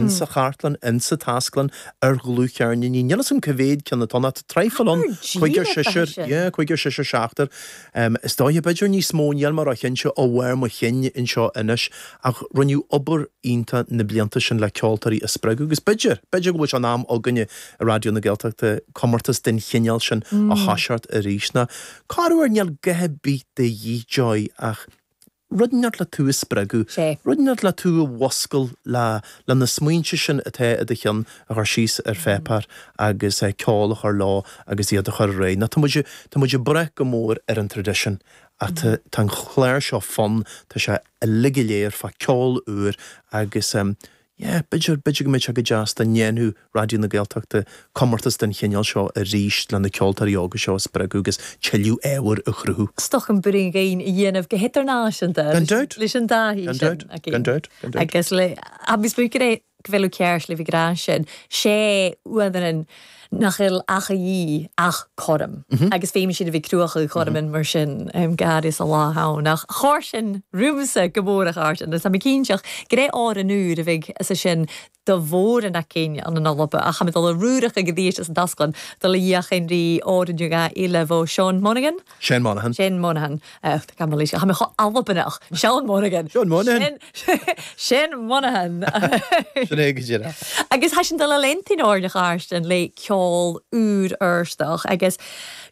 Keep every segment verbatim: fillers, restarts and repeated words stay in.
Insa chartlann, insa taisclann, ar dhlúthcheirníní. Níl 'fhios a'm cá mhéad ceann atá ann ach tá traidhfil ann, cúigear, seisear, yeah, cúigear, seisear, seachtar. Is dóiche, b'fhéidir níos mó, níl mé róchinnte ó bharr mo chinn anseo anois, ach rinneadh obair iontach na blianta sin le ceoltóirí a spreagadh agus b'fhéidir, b'fhéidir go bhfuil sé in am againne i Raidió na Gaeltachta comórtas den chineál sin a thoiseacht arís. Nó corruair níl a dhath ar bith de dhíth, Joy, ach rud inteacht le tú a spreagadh, rud inteacht le tú a mhuscail le le na smaointe sin atá i do cheann a chur síos ar pháipéar agus ceol a chur leo agus iad a chur ar aghaidh. Nó tá muid, tá muid ag brath go mór ar an traidisiún ach tá, tá an clár seo fionn, tá sé uilig go léir fá ceol úr agus yeah, b'fhéidir, b'fhéidir go mbeadh sé go deas dá ndéanfadh Raidió na Gaeltachta comórtas den chineál seo arís le na ceoltóirí óga seo a spreagadh agus tuilleadh ábhair a chruthú. Is dócha an bhruíon a dhéanamh go hidirnáisiúnta Gan dabht. leis an dtaithí Gan sin dabht. againn. Gan dabht. Gan dabht. Agus le, agus b'fhéidir é go bhfuil ceart le bheith ag rá sin, sé uaireanta nach bhfuil ach a dhíth ach cothrom. Agus féimeann siad a bheith cruach cothrom mar sin gar sa lá ann. Ach chuir sin romhamsa go mór a Chártan, agus tá mé cinnteach go raibh áir an uair a bheidh sa sin do mhór an cinn an an Alba ach cha dul a rúracha go dtí an tasclann dul a dhéachan rí áir an dhá ile bhó Sean Monaghan? Shane Monaghan. Shane Monaghan. Gan cha mé cho Albanach Sean Monaghan. Sean Monaghan. Shane Monaghan. Sin é go díreach. Agus tha sin dul a lentin áirne chairsten le ceol úr uirsteach agus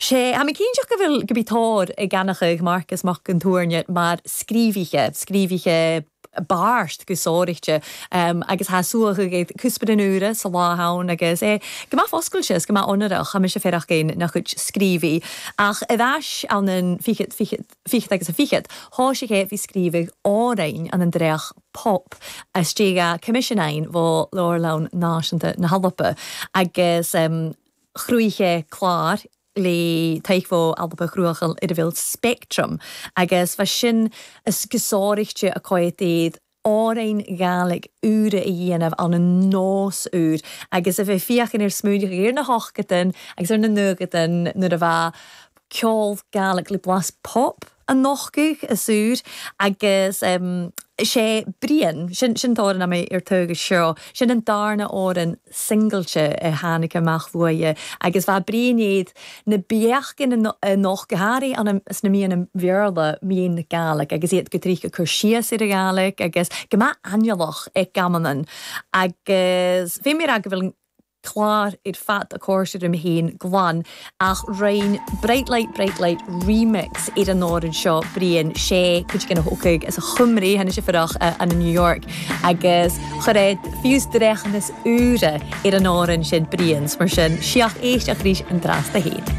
sé tha mi cinnteach go bhfuil go bí tóir ag gannacha Marcus Mac an Tuairne mar scríobhaithe, scríobhaithe bart go sóirichte um, agus tha suach ag cúspad an úra sa lá ann agus é go maith foscailte is go maith onarach cha mise féarach géin nach chuid scríobhaí ach i bheis an an fichead fichead fichead agus a fichead thá sé é bhí scríobhadh árainn an an dreach pop a stéga commissionáin bhó Leabharlann Náisiúnta na hAlba agus um, chrúithe clár le taithbhó Alba chruachal i bhfuil Spectrum agus fa sin is gosáirichte a coéad árain Gàidhlig úra a dhéanamh an an nós úr agus a bheith fiachan ar smúideach ar na hochtain agus ar na nuagatain nuair a bheith ceol Gàidhlig le blas pop an nochcuch a súr agus um, sé Brian sin sin tóran mé ar tugus seo sin an darna áran singlte a tháinig amach bhuaidhe agus bheit Brian iad na beachcin nach goharí an na mí an bhéarla míon na Gàidhlig agus iad go trícha chur síos ar a Gàidhlig agus go maith ainnealach ag gamanan agus bhí mé go bhfuil clár ar fad a cuair im héin glan ach rein Bright Light Bright Light remix ar an áran seo Brian sé chuid gona thócaigh as a chumrí hena sé farach an New York agus chuiréad fiús drechanas úra ar an áran sin Brian mar sin siach éisteach ríis an drasta héin.